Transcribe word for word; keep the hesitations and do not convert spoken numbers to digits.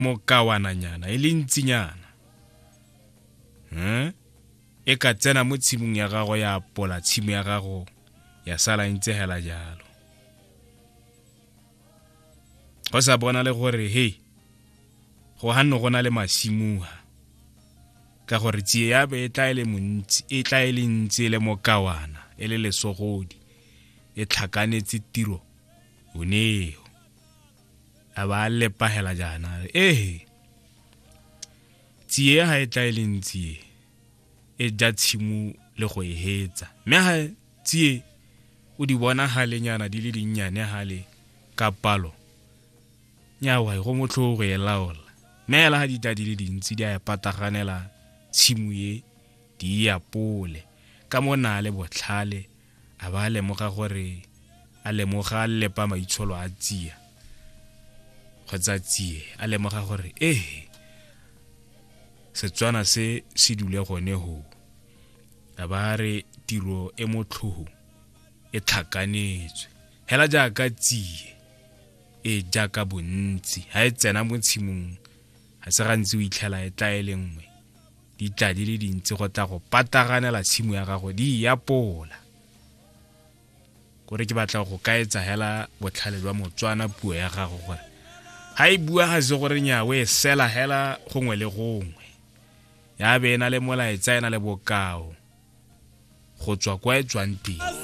Mokawananyana e le ntsinyana hmm? E ka tsena mo tshimong ya gago, ya apola tshimo ya gago, ya sala e ntse hela jalo, go sa bona le gore hei, go ganno go na le masimuha, ka gore tsie ya be e tla e le montsi, e tla e le ntsi, e le mokawana, e le lesogodi, e tlhakanetse tiro oneo. A ba lepagela jaana, ehe, tsie ga e tla e le ntsi e ja tshimo le go e hetsa, mme ga tsie o di bona galenyana di le dinnyane gale ka palo, nyawa go motlhogo go e laola, mme hela ga di tla di le dintsi, di a e pataganela tshimo e, di e apole. Ka mo na le botlhale, a ba lemoga gore a lemoga, a lepa maitsholo a tsia kgotsa tsie, a lemoga gore ehe, Setswana se se dule gone ho. A ba re tiro e motlhogo e tlhakanetswe hela jaaka tsie e jaaka bontsi, ha e tsena mo tshimong ga se gantsi o itlhela e tla e le nngwe, di tla di le dintsi go tla go pataganela tshimo ya gago, di e apola. Kore ke batla go kaetsa hela botlhale jwa Motswana, puo ya gago, gore ga e bua ga se gore nyawe e sela hela gongwe le gongwe, ya be e na le molaetsa, e na le bokao go tswa kwa e tswang teng.